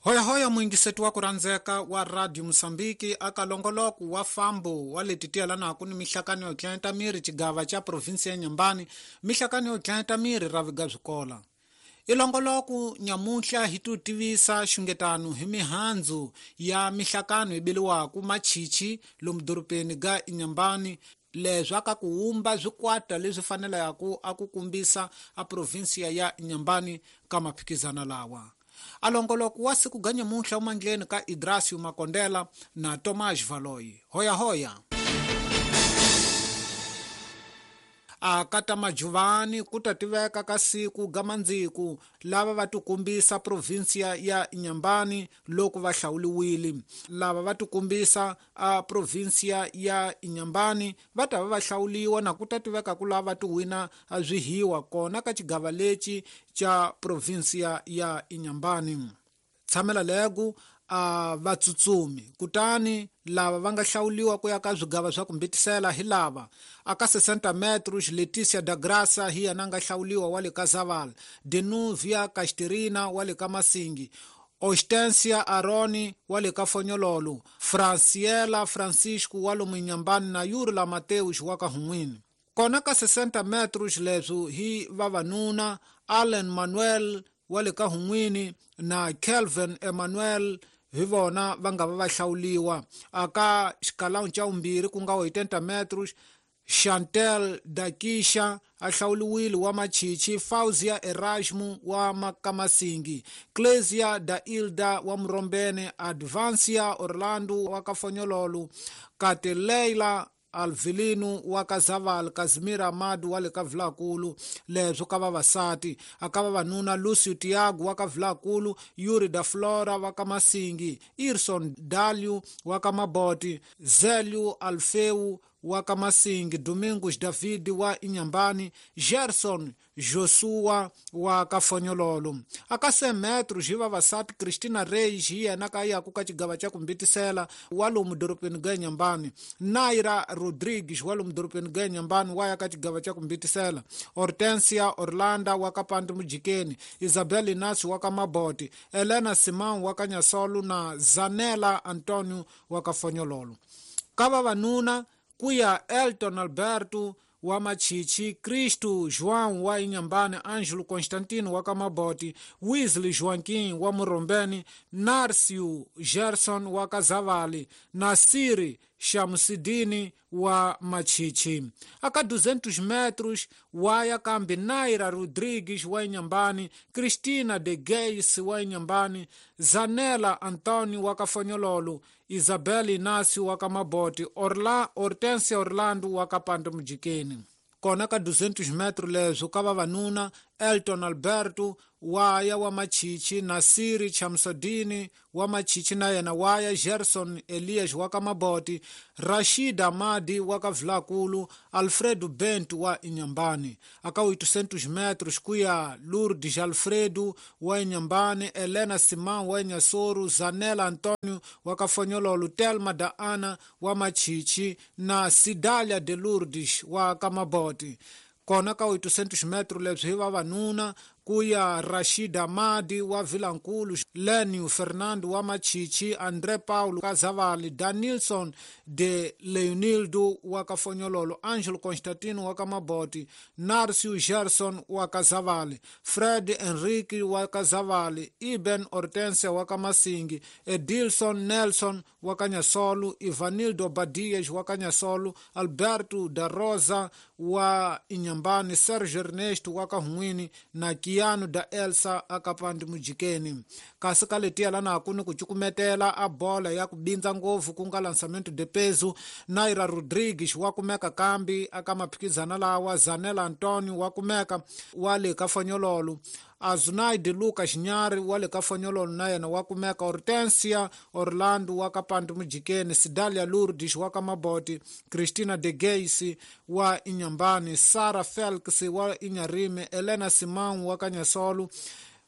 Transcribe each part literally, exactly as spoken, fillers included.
Hoyahoya muingiseti wa ku rhandzeka wa Radio Mosambiki aka longoloko wa fambo wa leti tiyelanaku ni mihlakano yo tlenta miri xigava xa provinsi ya Nyambani mihlakano yo tlenta miri ra viga swikola. Ilongoloko nyamuhla hi tu tivisa xungetano hi mihandzu ya mihlakano yi beliwaku machichi lomu dorobeni ga Inhambane leswi aka ku wumba swikwata leswi fanelaka a ku kumbisa a provinsiya ya Inhambane ka maphikizana lawa. Alongoloko wa siku ga nyamuhla umandleni ka Idrasio Makondela na Tomás Valoyi. Hoya hoya. A kata majuvani ku ta tiveka ka siku ga mandziku lava va tikumbisa provinsiya ya Inhambane loko va hlawuliwile. Lava va tikumbisa a provinsiya ya Inhambane va ta va va hlawuliwa na ku ta tiveka ku lava ti wina swihiwa kona ka xigava lexi xa provinsiya ya Inhambane. Tshamela legu a vatsutsumi kutani lava va nga hlawuliwa ku ya ka swigava swa ku mbitisela hi lava aka sessenta metros Leticia da Graça hi yena nga hlawuliwa wa le ka Zavala, Denuvia Casterina wa le ka Masingi, Ostensia Aroni wa le ka Fonyololo, Franciela Francisco wa lomu Inhambane na Yurla Mateus wa ka Hun'wini. Kona ka sessenta metros leswi hi vavanuna Allen Manuel wa le ka Hun'wini na Kelvin Emmanuel hi vona va nga va va hlawuliwa. Aka xikalawu xa vumbirhi ku nga oitenta metros Chantel Dakisha a hlawuliwile wa Machichi, Fauzia Erasmo wa Makamasingi, Clesia da Ilda wa Murombene, Advancia Orlando wa Kafonyololo, Kateleila Alvilino wa Kazaval, Kazimira Amadu wa le ka Vilakulu. Leswi ka vavasati aka vavanuna Lucio Tiago wa ka Vilakulu, Yuri da Flora wa ka Masingi, Irson Dalio wa ka Maboti, Zelio Alfeu wa ka Masingi, Domingos David wa Inhambane, Gerson Joshua wa ka Fonyololo. Aka cem metros hi vavasati Cristina Reis hi yena ka yaku ka xigava xa ku mbitisela wa lomu dorobeni ga Inhambane, Naira Rodrigues wa lomu dorobeni ga Inhambane wa ya ka xigava xa ku mbitisela, Hortensia Orlando wa ka Pandi Mujikeni, Isabel Inácio wa ka Maboti, Elena Simão wa ka Nyasolo na Zanela Antonio wa ka Fonyololo. Ka vavanuna ku ya Elton Alberto wa Machichi, Cristo João wa Inhambane, Ângelo Constantino wa Kamaboti, Wesley Joaquim wa Murombeni, Narcio Gerson wa Kazavali, Nasiri Shamsidini wa Machichi. Aka duzentos metros wa ya kambi Naira Rodrigues wa Inhambane, Cristina de Geis wa Inhambane, Zanela Antonio wa Kafonyololo, Isabel Inácio wa Kamaboti, Orla, Hortensia Orlando wa Kapando Mujikeni. Kona ka duzentos metros leswi ka vavanuna Elton Alberto wa ya wa Machichi, Nasiri Chamsodini wa Machichi na yena wa ya Gerson Elias wa ka Maboti, Rashid Amadi wa ka Vilakulu, Alfredo Bento wa Inhambane. Aka oitocentos metros ku ya Lourdes Alfredo wa Inhambane, Elena Simão wa Inhassoro, Zanela Antonio wa ka Fonyololo, Telma da Ana wa Machichi na Sidalia de Lourdes wa ka Maboti. Kona ka oitocentos metros leswi hi vavanuna ku ya Rashid Amadi wa Vilankulu, Lenio Fernando wa Machichi, André Paulo Kazavali, Danilson de Leonildo wa Kafonyololo, Angelo Constantino wa Kamaboti, Narcio Gerson wa Kazavali, Fred Henrique wa Kazavali, Iben Hortensia wa Kamasingi, Edilson Nelson wa Kanyasolo, Ivanildo Badias wa Kanyasolo, Alberto da Rosa wa Inhambane, Sergio Ernesto wa Kahun'wini na Kiano da Elsa akapandi Mujikeni. Kasi ka letiya lana kuni ku cukumetela a bola ya ku bindza ngopfu ku nga lançamento de peso, Naira Rodrigues wa kumeka kambi aka maphikizana lawa, Zanela Antonio wa kumeka wa le ka Fonyololo, Azunaide Lucas Nyari wa le ka Fonyololo na yena wa kumeka, Hortensia Orlando wa ka Pandi Mujikeni, Sidalia Lourdes wa ka Maboti, Cristina de Geis wa Inhambane, Sara Felix wa Inharime, Elena Simão wa ka Nyasolo,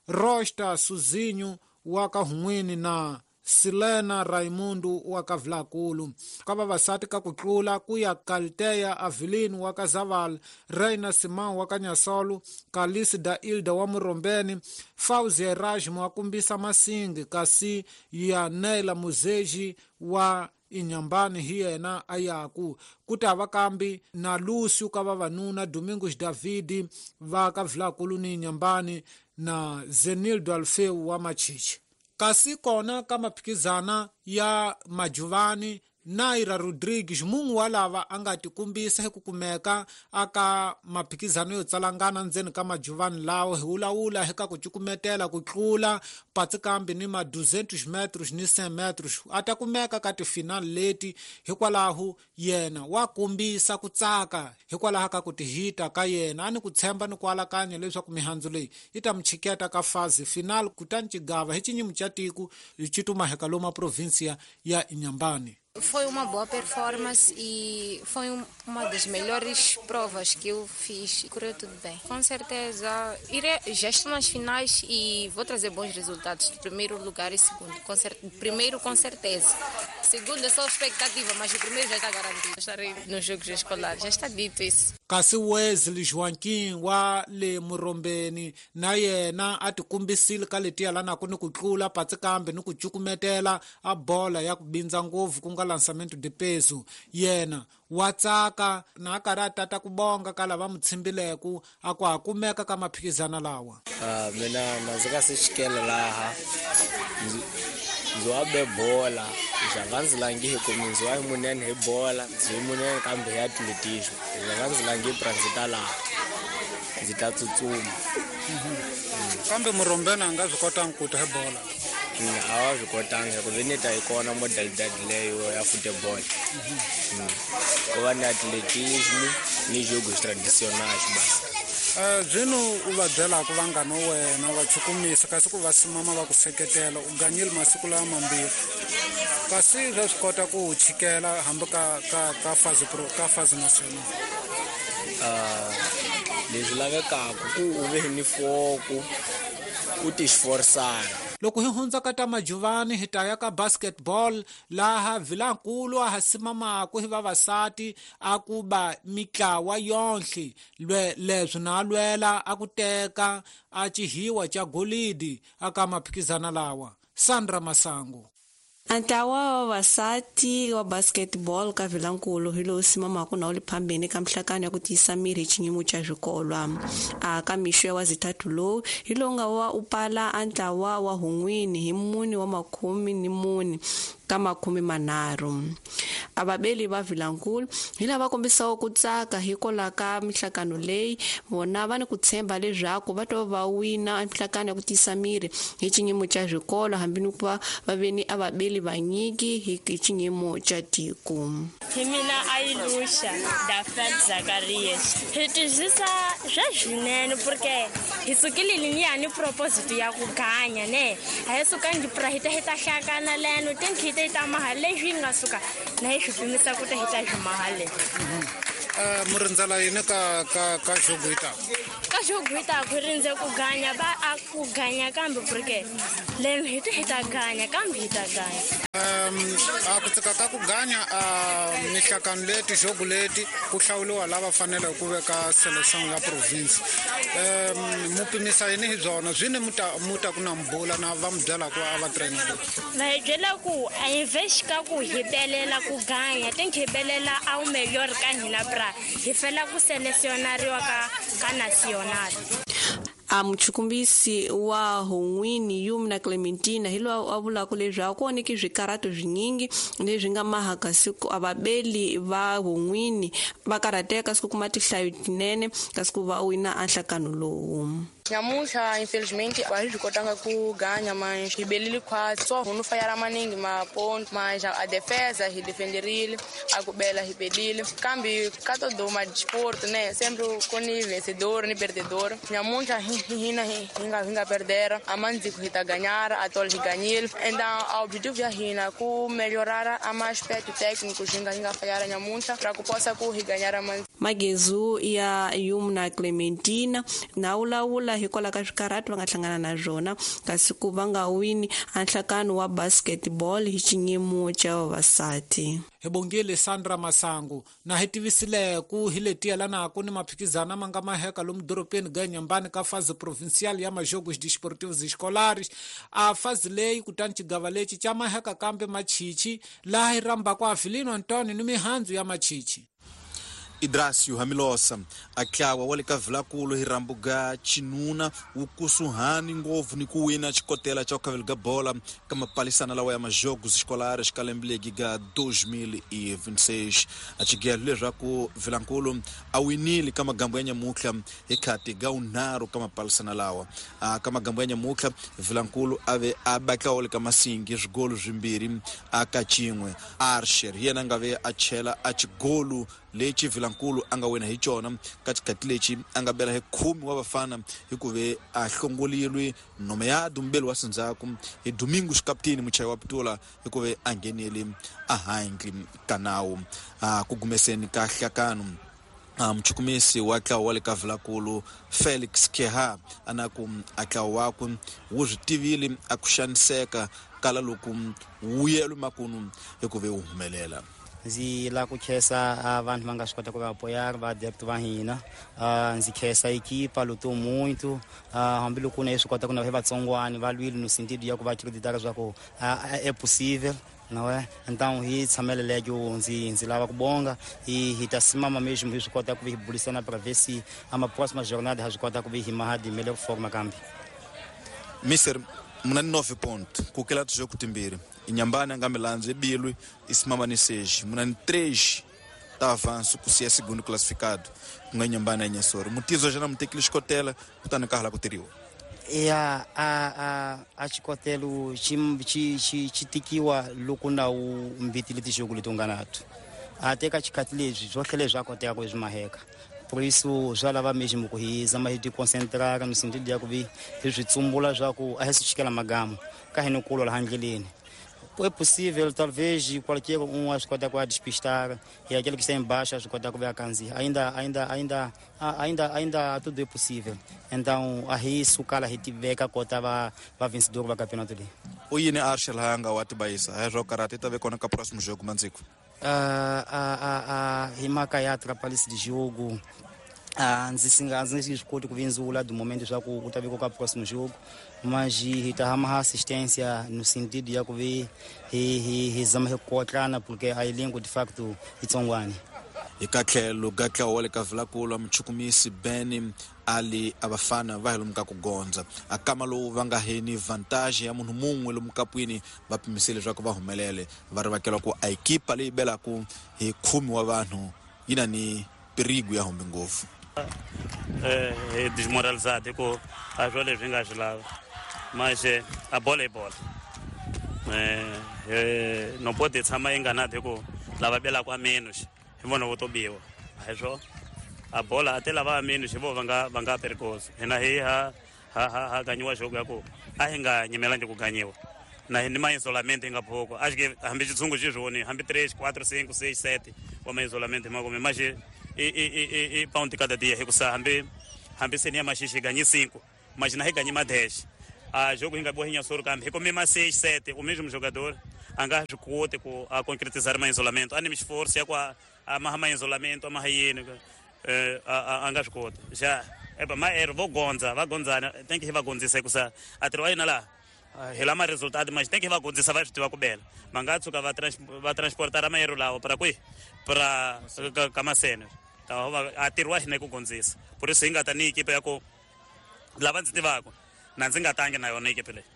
Rosta Suzinho wa ka Hun'wini na Silena Raimundo wa ka Vilakulu. Ka vavasati ka ku tlula ku ya Kalteya Avelino wa ka Zaval, Reina Simão wa ka Nyasolo, Kalisi da Ilda wa Murombeni, Fauzi Erasmo wa kumbisa Masingi, kasi ya Neila Muzeji wa Inhambane hi yena a yaku. Ku ta va kambi na Lúcio ka vavanuna, Domingos Davidi va ka Vilakulu ni Inhambane na Zenildo Alfeu wa Machichi. Kasi kona ka maphikizana ya Majuvani, Naira Rodrigues mun'we wa lava a nga tikumbisa hi ku kumeka aka maphikizano yo tsalangana ndzeni ka Majuvani lawo hi wulawula hi ka ku cukumetela ku tlula patsi kambi ni ma duzentos metros ni cent metros a ta kumeka ka tifinal leti. Hikwalaho yena wa kombisa ku tsaka hikwalaho ka ku tihita ka yena, a ni ku tshemba ni ku alakanya leswaku mihandzu leyi yi ta mi chiketa ka fazi final kutani xigava hi xinyimu xa tiko xi tuma heka loma província ya Inhambane. Foi uma boa performance e foi uma das melhores provas que eu fiz. Correu tudo bem. Com certeza, irei, já estou nas finais e vou trazer bons resultados. Primeiro lugar e segundo. Com cer- primeiro, com certeza. Segundo é só expectativa, mas o primeiro já está garantido. Estarei nos Jogos Escolares, já está dito isso. Kasi Wesley Joaquim wa le Murombeni na yena a tikumbisile ka letiya lanaku ni ku tlula patsi kambe ni ku cukumetela a bola ya ku bindza ngopfu ku nga lançamento de peso. Yena wa tsaka na a karhi a tata ku bonga ka lava mu tshimbileku a ku ha kumeka ka maphikizana lawa. Uh, mina na ndzi nga se xikela laha ndzi wa be bola ndzi nga ndzi langi hi ku ndzi wa munene hi bola ndzi munene kambe hi atletismo ndzi nga ndzi langi pra ndzi ta laha ndzi ta tsutsuma. Kambe Murombeni a nga swi kotanga ku ta hi bola? A wa swi kotanga hikuva ni ta yi kona modalidad leyo ya football. Ku va ni atletismo ni jogos tradicionais basi. Uh, zwino u va byelaka vanghana wa wena va chukumisa kasi ku va simama va ku seketela u ganyile masiku lawa mambirhi kasi swa swi kota ku u chikela hambi ka ka ka fazi pro ka fazi national. Uh, leswi lavekaka ku u ve ni foku u ti xiforisana. Loko hi hundza ka ta Majuvani hi ta ya ka basketball laha Vilankulu a ha simamaku hi vavasati a ku ba mitlawa yonhle lwe leswi na lwela a ku teka a xihiwa xa golidi aka maphikizana lawa. Sandra Masango. Ntlawa wa vavasati wa basketball ka Vilankulu hi lowu simamaka na wu le phambeni ka mihlakano ya ku tiyisa miri hi xiyimo xa swikolwa. A ka mixo ya wazithathu lowu hi lowu nga wa u pala a ntlawa wa hun'wini hi mune wa makhume ni mune ka makhume manharhu. A vabeli va Vilankulu hi lava kombisaka ku tsaka hikwalaho ka mihlakano leyi vona va ni ku tshemba leswaku va to va wina mihlakano ya ku tiyisa miri hi xiyimo xa swikolo hambi ni ku va va ve ni a vabeli vanyiki hi xiyimo xa tiko. Hi mina Ailusha da Fred Zacarias. Hi twisisa swa swinene porque hi sukile liniya ni proposito ya ku ganya ne a hi sukangi pra hi ta hi ta hlakana leno tinki hi ta maha leswi nga suka na hi swi pimisa ku ta hi ta swi maha le. Uh, murindzela yini ka ka ka jogo yi taka? Ka jogo yi taka rindze ku ganya ba a ku ganya kambe porque leno hi ta hi ta ganya kambe hi ta ganya. Um, a ku tsaka ka ku ganya a mihlakano leti jogo leti ku hlawuriwa lava faneleke ku veka selection ya province. Um, mu pimisa yini hi byona zwine mu ta mu ta ku na mbula na va mu byela ku a va trainer. Va hi byela ku a hi vexi ka ku hi belela ku ganya tinki hi belela a wu melhor ka hina pra hi fela ku selesionariwa ka ka national. A muchukumbisi wa hun'wini Yumna Clementina hi loyi a vulaka leswaku ku onheke swikarato swinyingi leswi nga maha kasi ku a vabeli va hun'wini va karhateka kasi ku kuma tinhlayo tinene kasi ku va wina a nhlakano lowu. Nyamuntlha infelizmente a hi swi kotanga ku ganya mas hi belile khwatsi so hunu fayara maningi maponto mas a defesa hi defenderile a ku bela hi belile kambe ka todo ma disporto né sempre ku ni vencedor ni perdedor. Nyamuntlha hina hi nga hi nga perdera a mandziku hi ta ganhar a tol hi ganhile então o objetivo ya hina ku melhorar a ma aspecto técnico hi nga hi nga fayara nyamuntlha pra ku possa ku hi ganhar a Magezu ya Yumna Clementina na wulawula hlula hikwalaho ka swikarhato va nga hlangana na swona kasi ku va nga wini a nhlakano wa basketball hi xinyimo xa vavasati. Hi bongile Sandra Masangu na hi tivisile ku hi leti yelanaka ni maphikizana ma nga maheka lomu doropeni ga Inhambane ka fase provincial ya majogos desportivos escolares. A fase leyi kutani xigava lexi xa maheka kambe machichi laha hi rhambaka Avelino Antonio ni mihandzu ya machichi. Idracio Hamilosa atlawa wa le ka Vilankulu hi rambuga chinuna wu kusuhani ngopfu ni ku wina xikotela xa ku khavela ga bola ka mapalisana lawa ya majogos escolares ka lembe legi ga dois mil e vinte e seis. A xigelo leswaku Vilankulu a winile ka magambo ya nyamutlha hi khati ga unharhu ka mapalisana lawa. A ka magambo ya nyamutlha Vilankulu a ve a batlawo le ka Masingi swigolo swimbirhi a ka xin'we. Archer hi yena a nga ve a chela a xigolo lexi Vilankulu a nga wina hi xona ka xikhathi lexi a nga bela hi khume wa vafana hi ku ve a hlongolilwe nomeado mbeli wa sindzhaku hi Domingos kapteni muchayi wa pitula hi ku ve a nghenele a handle ka nawu. A ku gumeseni ka hlakano muchukumisi wa ntlawa wa le ka Vilankulu Felix Keha a na ku a ntlawa wakwe wu swi tivile a ku xaniseka kala loko wuyelo makunu hi ku ve wu humelela. Ndzi lava ku khensa vanhu va nga swi kota ku va apoiar va adepto va hina. Ndzi khensa equipa lutou muito, hambiloko na swi kota ku na vatsongwana va lwile no sentido ya ku va acreditar leswaku é possível, não é? Então hi tshamele lego ndzi ndzi lava ku bonga e hi ta simama mesmo hi swi kota ku hi burisana para ver se a uma próxima jornada hi swi kota ku hi maha de melhor forma kambe. Mister muna ni nove ponto ku kela tijogo timbirhi. Inhambane a nga milandzu ebilwi isimama ni seis. Muna ni três ta avanço ku siya segundo classificado ku nga Inhambane ya Inhassoro. Mutizo jana mutekile xikotela kutani ka hala ku tirhiwa. Ya a a a xikotelo xi xi xi xi tikiwa loko na wu mbitile tijogo leti u nga nato. A teka xikhathi leswi swo tlhela swa koteka ku swi maheka. Por isso swa lava mesmo ku hi zama hi ti concentrar no sentido ya ku vi hi swi tsumbula swa ku a hi swi xikela magamu ka hi ni kulwa laha ndleleni. É possível, talvez qualquer um acho que pode despistar e aquele que está em baixo acho que pode ver a canzi. Ainda ainda ainda ainda ainda tudo é possível. Então a isso kala hitiveka kota va va vencedor va campeonato ali. O yini Arshel hanga wa tibayisa ha swa karate ta ve kona ka próximo jogo mandziko. Ah ah ah ah hi mhaka ya atrapalhise de jogo. Ah, ndzi singa ndzi swi koti ku vindzula do momento swa ku u ta veka ka próximo jogo, mas hi ta hama assistência no sentido ya ku vi hi hi hi zama hi kotlana porque a elenco de facto itsongwana. Hi ka tlhelo ga ntlawa wa le ka Vilankulu muchukumisi Ben Ali a vafana va hi lomu ka ku gondza a kama lowu va nga heni vantage ya munhu mun'we lomu kapwini va pimisile leswaku va humelele va rivakela ku a ekipa leyi belaku hi khume wa vanhu yi na ni perigo ya humbe ngopfu. É desmoralizado com a jola vinga lá, mas a bola é bola. É, é, não pode estar enganado com lava bela com a menos, vou não vou biwa. Aí só a bola até lava a menos, vou vanga vanga perigoso. E na hi ha ha ha ganhou jogo yako. A hinga nyemelanje ku ganhiwa. Na ni mais isolamento inga pouco. Acho que hambi xitshungu xi swona, hambi três, quatro, cinco, seis, sete, o mais isolamento makume, mas e e e e pão de cada dia recusa hambi hambi senia maxixi ganhe cinco, mas na ganhe mais dez. A jogo inga boa Inhassoro kambe, come mais seis, sete, o mesmo jogador anga xikote ku a concretizar mais isolamento, ani esforço ya ku a maha mais isolamento, a maha yini eh a anga xikote. Já epa ma er vou gonza, va gonzana, tem que va gonzisa kusa atirwa yina la helama resultado, mas tem que va gonzisa vai tiva ku bela. Manga tsuka va trans, va transportar amayero lawo para kwi para kamasene. A tirwa hina ku gonzisa. Por isso inga ta ni equipe ya ku lava ndzi tivaka na ndzi nga tangi na yona equipe leyi.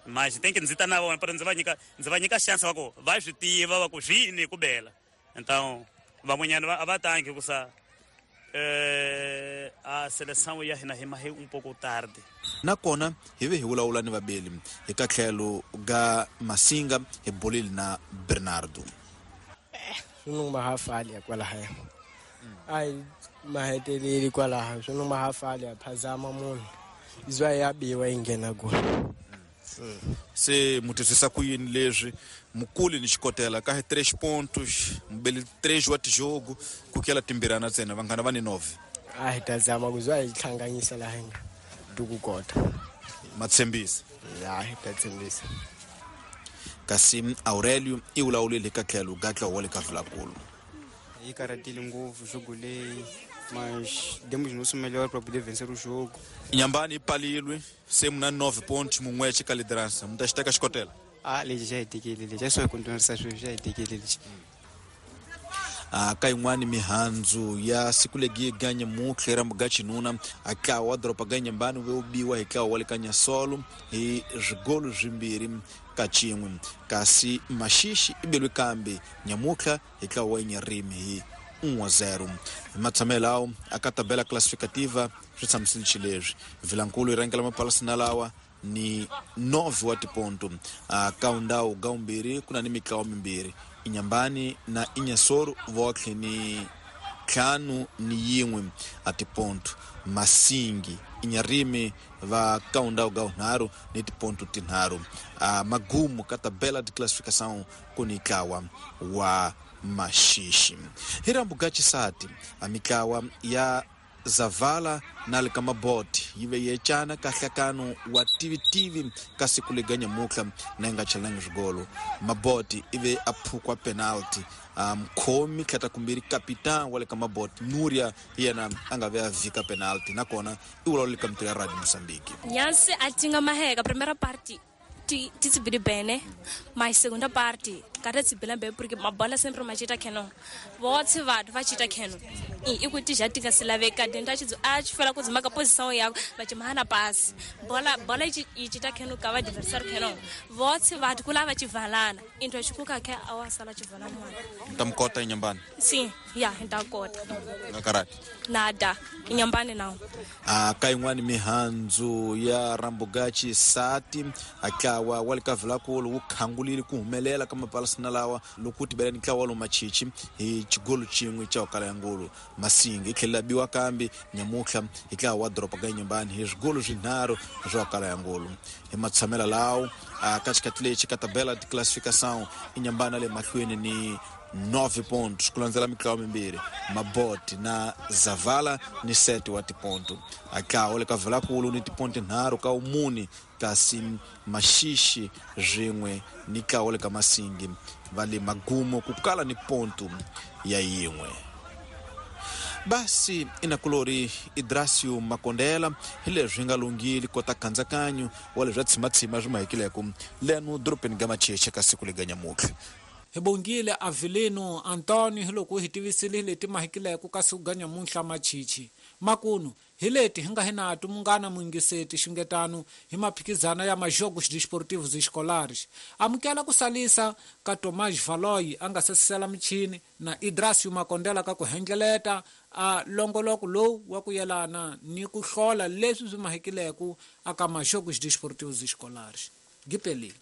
Mas tem que ndzi ta na vona para ndzi va nyika ndzi va nyika chance va ku va swi tiva va ku swini ku bela. Então van'wanyana va a va tangi ku sa eh a seleção ya hina hi mahe um pouco tarde. Nakona hi ve hi vulavula ni vabeli hi ka tlhelo ga Masinga hi bolile na Bernardo. Swi numa ha fali ya kwalahaya. Ai maheteleli kwalaha swi numa ha fali ya phazama munhu izwa ya biwa yi nghena kona. Se mutwisisa ku yini leswi mukuli ni xikotela ka hi três pontos mubeli três wa tijogo ku kela timbirana ntsena vanghana va ni nove. A hi ta zama ku zwa hi hlanganyisa laha hi nga tu kota. Matshembisa. Ya, hi ta tshembisa. Kasi Aurelio i vulavulile ka tlhelo ga ntlawa wa le ka Vilakulu. Hi karatile ngopfu jogo leyi, mas demos nosso melhor para poder vencer o jogo. Inhambane i palilwe se muna nove pontos mun'wexe ka liderança. Mu ta xi teka xikotela? Ah, lexi xa hi tekile lexi. A swi hi continuarisa sweswi, xa hi tekile lexi. A ka yin'wani mihandzu ya siku legi ganye mutlhe ra muga xinuna a ntlawa wa doroba ga Inhambane wu biwa hi ntlawa wa le ka Nyasolo hi swigolo swimbirhi ka xin'we, kasi Maxixi i belwe kambe nyamutlha hi ntlawa wa Inyarimi hi um a zero. Hi matshamelo lawo a ka tabela classificativa swi tshamisile xileswi. Vilankulu yi rhangela mapalasina lawa ni nove wa tiponto. A ka ndhawu ga vumbirhi ku na ni mitlawa mimbirhi, Inhambane na Inhassoro votlhe ni ntlhanu ni yin'we a tiponto. Masingi Inyarimi va ka ndhawu ga vunharhu ni tiponto tinharhu. A magumu ka tabela de classificação ku ni ntlawa wa Maxixi. Hi rambu ga xisati a mitlawa ya Zavala na le ka Maboti yi ve yecana ka nhlakano wa tivitivi ka siku lega nyamutlha na yi nga chelangi swigolo. Maboti i ve a phukwa penalty mkhomi tlhata kumbirhi kapitan wa le ka Maboti Nuria yena a nga ve a vhika penalty nakona i vulavula ka mitiro ya Radio Mozambique. Nyansi a tinga maheka primeira parte ti ti bili bene, mas segunda parte kada tsi bela bem porque mabola sempre machita keno votse vanhu va chita keno i kuti já tinga se laveka dentro a a fela ku dzima ka posição ya va chimana pass bola bola i chita keno ka va adversário keno votse vanhu kula va chivalana into xikuka ke awa sala chivalana mwana tamkota Inhambane. Sim, ya ntakota na karate nada Inhambane não. A ka yin'wani mihandzu ya Rambugachi sati a ntlawa wa le ka Vilakulu wu khangulile ku humelela ka mapalasina lawa loko wu tibela ni ntlawa lowu Machichi hi xigolo xin'we xa kala ya ngulu. Masingi yi tlhela biwa kambe nyamutlha hi ntlawa wa doroba ga Inhambane hi swigolo swinharhu swa kala ya ngulu. Hi matshamela lawo a ka xikhathi lexi ka tabela de classificação Inhambane le mahlweni ni nove pontos ku landzela mitlawa mimbirhi, Maboti na Zavala ni sete wa tiponto. A ntlawa le ka Vilakulu ni tiponto nharhu ka umuni, kasi Maxixi swin'we ni ntlawa le ka Masingi va le magumo ku kala ni ponto ya yin'we. Basi inakulori Idrasio Makondela hi leswi nga lunghile kota khandzakanyo wa leswi tshimatshima swi mahekileko leno dorobeni ga Macheche ka siku lega nyamutlha. Hi bongile Avelino Antonio hi loko hi tivisile leti mahekileko ka siku ga nyamutlha Machichi. Makunu hi leti hi nga hi nato munghana muyingiseti xungetano hi maphikizana ya majogos desportivos escolares. Amukela ku salisa ka Tomás Valoy a nga sesisela michini na Idrasio Makondela ka ku hendleleta a longoloko lowu wa ku yelana ni ku hlola leswi swi mahekileko aka majogos desportivos escolares. Gipeli.